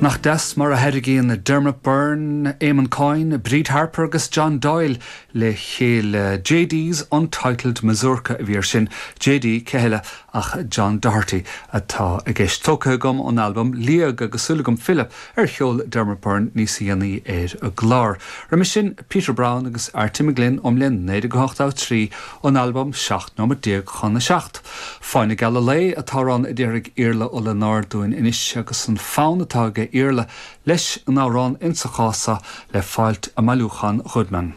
Nach deas mar a thairgíonn Dermot Byrne, Eamon Coyne, Bríd Harper agus John Doyle le chéile. JD's Untitled Mazurka a bhí ar sin. JD, cé heile ach John Doherty atá i gceist. Tógtha agam ón albam Liag agus súil agam filleadh ar cheol Dermot Byrne níos dhéanaí ar an gclár. Roimhe sin, Peter Browne agus Arty McGlynn ón mbliain 1983 ón albam 17 nóiméad chun a 7. Fáinne Geala Lae an t-amhrán a déarfaidh Iarla Ó Lionáird dúinn anois agus an fonn atá aige Iarla leis an amhrán insa chás seo le fáilt i mbailiúchán Goodman.